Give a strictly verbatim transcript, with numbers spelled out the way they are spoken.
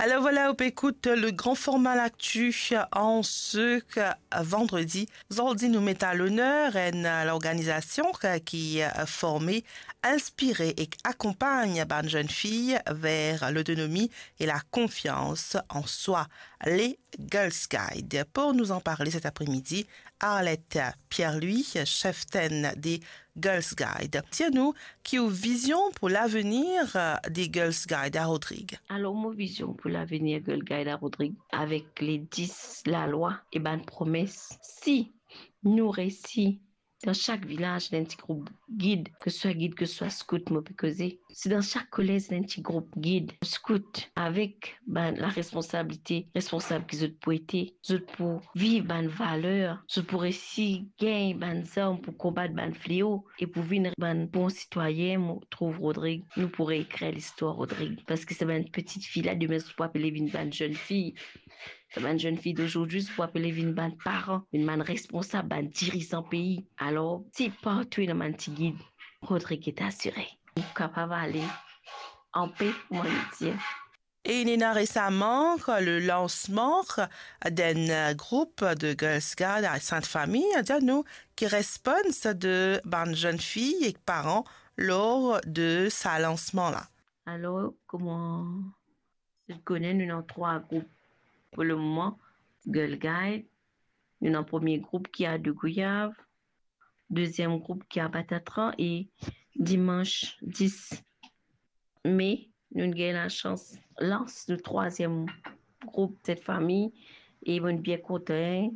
Alors voilà, ou pe ekout le grand format L'actu en ce vendredi. Zordi nou met a loner enn lorganizasion ki forme, inspire ek akonpagn bann zenn fi ver lotonomi e la konfians an swa, les Girls Guide. Pour nous en parler cet après-midi, Arlette Pierre-Louis, cheftenn de Girls Guide. Dir nou ki ou vizion pou lavenir de Girls Guide a Rodrig. Alor, mo vizion pou lavenir Girls Guide a Rodrig, avek le dis lalwa e bann promes, si nou resi dan sak vilaz, ena enn ti group gid, ke swa gid, ke swa skout, mo pe koze. Si dan sak kolez, ena enn ti group gid, skout, avek bann laresponsabilite, responsab ki zot pou ete, zot pou viv bann valer, zot pou resi gagn bann zarm pou konbat bann fleo e pou vinn bann bon sitwayin. Mo trouv Rodrig, nou pou reekrir listwar Rodrig, parski se bann peti fi la, demin zot pou apele vinn bann zenn fi. Sa bann zenn fi dozordi, zot pou apele vinn bann paran, vinn bann responsab, bann dirizan pei. Alor, si partou ena bann ti gid, Rodrig ete asire. Nou kapav ale anpe, mo anvi dir. E inn ena resaman le lansman d'enn group de Girls Guide a Sint Fami. Dir nou ki respons de bann zenn fi ek paran lor de sa lansman la. Alor, kouma zot kone, nou ena trwa group pou lemoman. Girl Guide, nou ena premie group ki a Degouyav, deziem group ki a Batatran, e dimans dis me, nou gagn lasans lans nou trwaziem group, Sint Fami, e mo bien kontan,